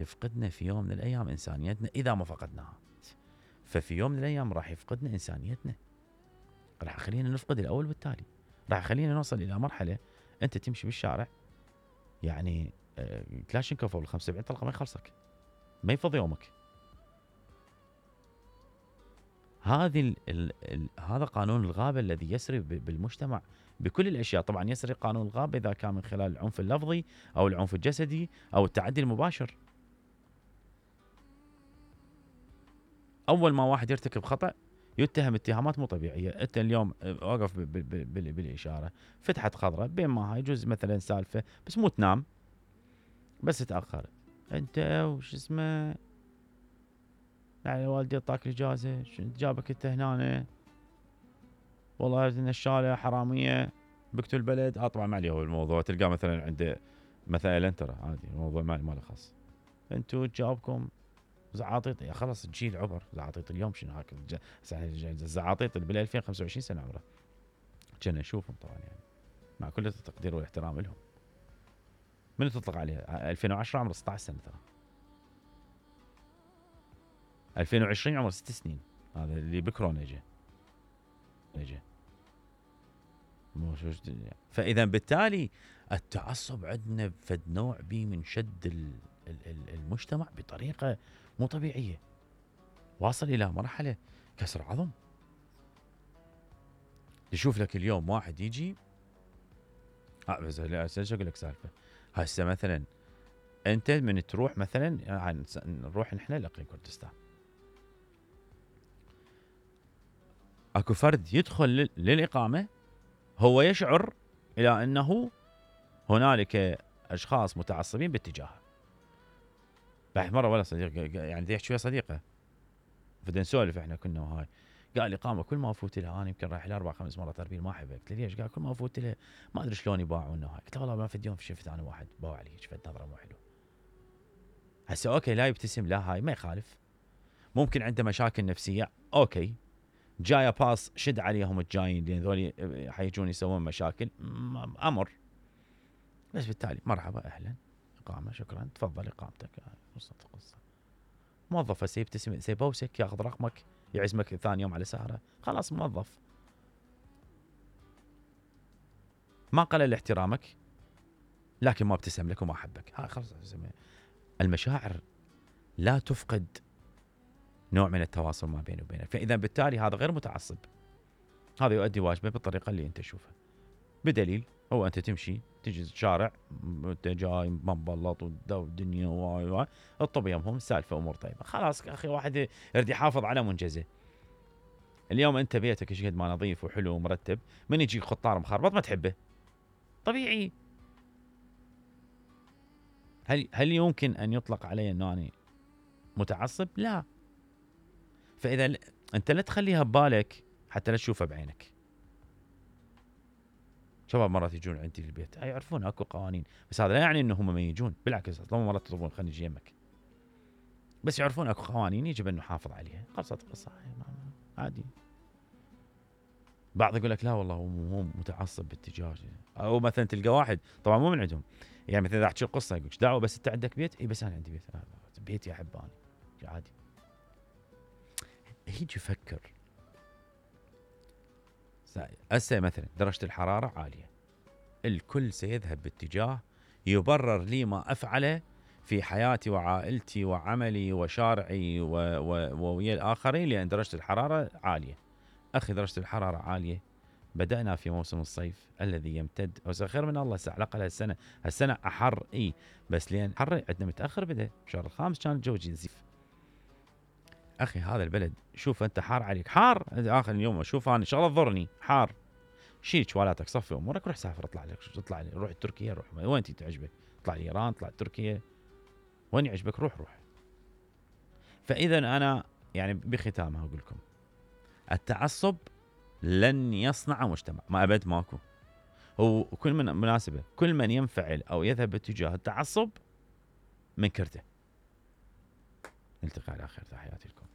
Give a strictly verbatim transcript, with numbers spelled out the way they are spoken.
يفقدنا في يوم من الأيام إنسانيتنا إذا ما فقدناها. ففي يوم من الأيام راح يفقدنا إنسانيتنا، راح يخلينا نفقد الأول والتالي، راح يخلينا نوصل إلى مرحلة أنت تمشي بالشارع يعني كلاشينكوف أو الخمسة وسبعين طلقة ما يخلصك، ما يفضي يومك. هذه ال ال ال هذا قانون الغابة الذي يسري بالمجتمع بكل الأشياء. طبعا يسري قانون الغابة إذا كان من خلال العنف اللفظي أو العنف الجسدي أو التعدي المباشر. أول ما واحد يرتكب خطأ يتهم اتهامات مو طبيعية. أنت اليوم واقف بالإشارة فتحت خضراء، بين ما هاي يجوز مثلا سالفة بس مو تنام، بس تأخرت أنت وش اسمه يعني والدي اعطاك الاجازه، شنو جابك انت هنا؟ والله ان الشارع حراميه بكتوا البلد. اه طبعا ما عليه هو الموضوع، تلقاه مثلا عند مثلا انترا عادي الموضوع ما ما له خاص. انتوا جاوبكم زعاطيط، يا خلص الجيل عبر زعاطيط اليوم شنو هاك الزعاطيط اللي بال ألفين وخمسة وعشرين سنه عمره كنا نشوفهم طبعا يعني مع كل التقدير والاحترام لهم. من تطلق عليه ألفين وعشرة عمره ستة عشر سنه ترى، ألفين وعشرين عمره ست سنين، هذا اللي بكورونا اجى اجى مو شو. فاذا بالتالي التعصب عندنا فد نوع بي من شد المجتمع بطريقه مو طبيعيه، واصل الى مرحله كسر عظم. يشوف لك اليوم واحد يجي اه بس اقول لك سالفه هسه مثلا انت من تروح مثلا نروح نحن لاقليم كردستان، اكو فرد يدخل للاقامه هو يشعر الى انه هنالك اشخاص متعصبين باتجاهه. بعد مره ولا صديق يعني بدي احكي ويا صديقه بدنا نسولف احنا كنا وهاي، قال اقامه كل ما افوت لها انا يمكن رايح لها اربع خمس مرات اربيل ما احبها. قلت له ليش؟ قال كل ما افوت لها ما ادري شلون يباعون وهاي. قلت له والله ما في يوم شفت انا واحد باوع لي شفت نظره مو حلو. هسه اوكي لا يبتسم لا هاي ما يخالف، ممكن عنده مشاكل نفسيه اوكي، جايه باص شد عليهم الجايين لان ذولي حيجون يسوون مشاكل امر، بس بالتالي مرحبا اهلا اقامه شكرا تفضل اقامتك. قصه قصه موظف هسه يبتسم سيبوسك ياخذ رقمك يعزمك ثاني يوم على سهره خلاص موظف ما قلل احترامك لكن ما ابتسم لك وما حبك. هاي خلاص المشاعر لا تفقد نوع من التواصل ما بينه وبينك. فاذا بالتالي هذا غير متعصب، هذا يؤدي واجبه بالطريقه اللي انت تشوفها. بدليل هو انت تمشي تجي الشارع انت جاي مبلط والدنيا واي واي الطب يمهم سالفه امور طيبه خلاص اخي واحد يريد يحافظ على منجزه. اليوم انت بيتك ايش قد ما نظيف وحلو ومرتب، من يجي خطار مخربط ما تحبه طبيعي. هل هل يمكن ان يطلق علي انه انا متعصب؟ لا. فاذا ل... انت لا تخليها ببالك حتى لا تشوفها بعينك. شباب مرات يجون عندي البيت يعرفون اكو قوانين، بس هذا لا يعني انهم ما يجون، بالعكس اصلا مرات يطلبون خليني اجي يمك، بس يعرفون اكو قوانين يجب ان نحافظ عليها. خلصت القصه عادي. بعض يقول لك لا والله هو مو متعصب باتجاه، او مثلا تلقى واحد طبعا مو من عندهم يعني مثلا اذا احكي القصه يقول دعوه بس انت عندك بيت؟ اي بس انا عندي بيت، بيتي احب انا عادي. يجي يفكر هسه مثلا درجه الحراره عاليه، الكل سيذهب باتجاه يبرر لي ما افعله في حياتي وعائلتي وعملي وشارعي وويا الآخرين لأن درجة الحرارة عالية. أخي درجة الحرارة عالية، بدأنا في موسم الصيف الذي يمتد أو خير من الله على الأقل هالسنة، هالسنة أحر إي بس لأن حر عندنا متأخر بدأ بشهر الخامس كان الجو جنزيف. أخي هذا البلد شوف أنت حار عليك حار آخر اليوم شوف أنا إن شاء الله تضرني حار، شيل شوالاتك صفي أمورك روح سافر اطلع لك اطلع لي روح تركيا روح وين تي تعجبك، اطلع لي إيران اطلع تركيا وين يعجبك روح روح. فإذا أنا يعني بختامها أقول لكم التعصب لن يصنع مجتمع، ما أبد ماكو. هو كل من مناسبة كل من ينفعل أو يذهب باتجاه التعصب من كرته. نلتقي على خير، تحياتي لكم.